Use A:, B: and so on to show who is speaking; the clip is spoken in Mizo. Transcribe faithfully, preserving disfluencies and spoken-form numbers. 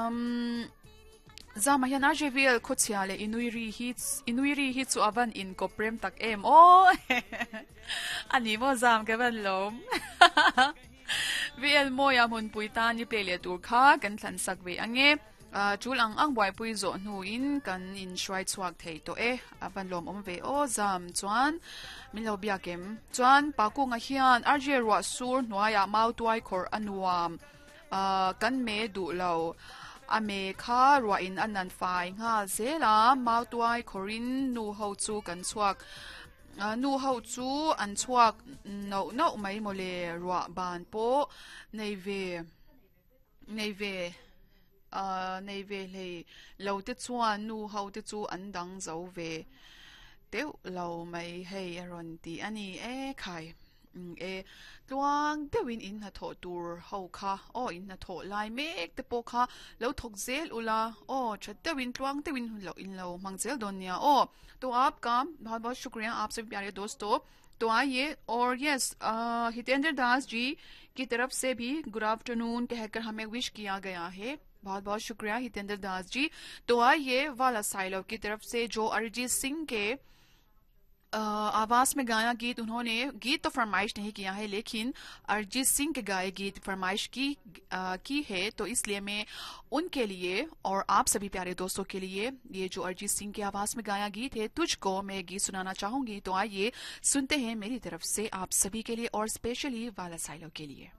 A: Um zama hian R J V L khochhia le inuiri hi inuiri hi chu avan in koprem tak em o ani mo zam ke van lom V L moya mun puita ni play le tur kha kan thlan sak ve ange. Chul ang ang buai pui zo hnu in kan in hruai chhuak thei to e avan lom om ve o zam. Chuan min lo biakem chuan pakunga hian R J ruwa sur hnuaia mau tuai khor anuam kan me du lo ame kha ruwa in anan fai nga zela mau tuai khorin nu ho chu kan chuak nu ho chu an chuak no no mai mole ruwa ban po nei ve nei ve nei ve hlei lo te chuan nu ho te chu an dang zo ve teuh lo mai hei aron ti ani e khai e tluang deuhin in hna thawh tur ho kha o in hna thawh lai mek te pawh kha lo thawk zel ula o tha deuhin tluang deuhin lo in lo hmang zel dawn nia o. तो आपका बहुत बहुत शुक्रिया, आप सभी प्यारे दोस्तों। तो आइए और यस, हितेंद्र दास जी की तरफ से भी गुड आफ्टरनून कहकर हमें विश किया गया है। बहुत बहुत शुक्रिया, हितेंद्र दास जी। तो आइए, वाला साइलो की तरफ से जो अरिजीत सिंह के आवाज में गाया गीत, उन्होंने गीत तो फरमाइश नहीं किया है, लेकिन अरिजीत सिंह के गाए गीत फरमाइश की आ, की है, तो इसलिए मैं उनके लिए और आप सभी प्यारे दोस्तों के लिए ये जो अरिजीत सिंह की आवाज में गाया गीत है, तुझको, मैं गीत सुनाना चाहूंगी। तो आइए सुनते हैं, मेरी तरफ से आप सभी के लिए और स्पेशली वाला साइलो के लिए।